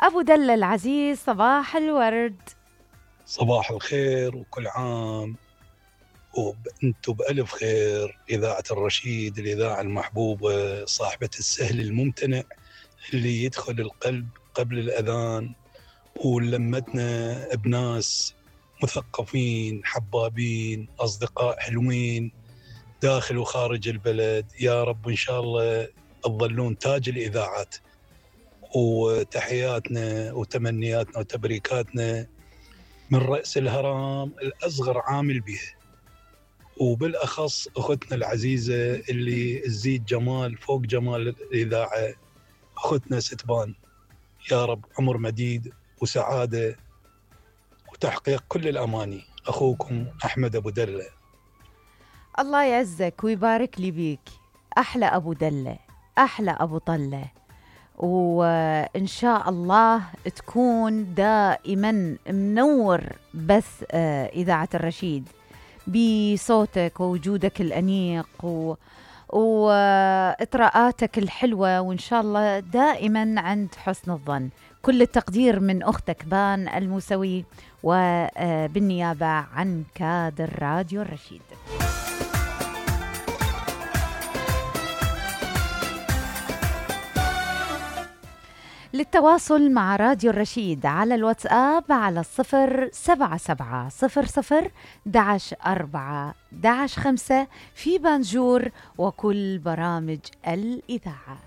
أبو دلة العزيز، صباح الورد. صباح الخير وكل عام وانتم بألف خير. إذاعة الرشيد، الإذاعة المحبوبة، صاحبة السهل الممتنع اللي يدخل القلب قبل الأذان، ولمتنا بناس مثقفين حبابين، أصدقاء حلوين داخل وخارج البلد. يا رب إن شاء الله تظلون تاج الإذاعات. وتحياتنا وتمنياتنا وتبريكاتنا من رأس الهرم الأصغر عامل به، وبالأخص أختنا العزيزة اللي تزيد جمال فوق جمال الإذاعة، أختنا ستبان. يا رب عمر مديد وسعادة وتحقيق كل الأماني. أخوكم أحمد أبو دلة. الله يعزك ويبارك لي بيك، أحلى أبو دلة، أحلى أبو طلة، وإن شاء الله تكون دائما منور بث إذاعة الرشيد بصوتك ووجودك الأنيق وإطراءاتك الحلوة، وإن شاء الله دائما عند حسن الظن. كل التقدير من أختك بان الموسوي، وبالنيابة عن كادر راديو الرشيد. للتواصل مع راديو الرشيد على الواتساب على 077-00-11-4-11-5 في بانجور وكل برامج الإذاعة.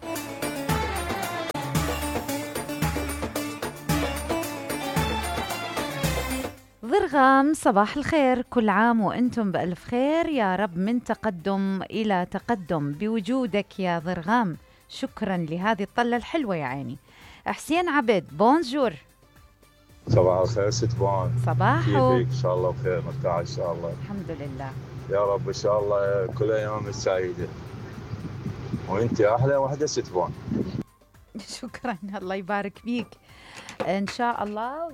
ضرغام، صباح الخير، كل عام وأنتم بألف خير، يا رب من تقدم إلى تقدم بوجودك يا ضرغام. شكرا لهذه الطلة الحلوة يا عيني. حسين عبد، بونجور. صباح الخير ستبان. صباحو. كيفك؟ ان شاء الله بخير، مرتاح ان شاء الله. الحمد لله يا رب ان شاء الله كل ايامك سعيده، وانت احلى وحده ستبان. شكرا، الله يبارك فيك ان شاء الله.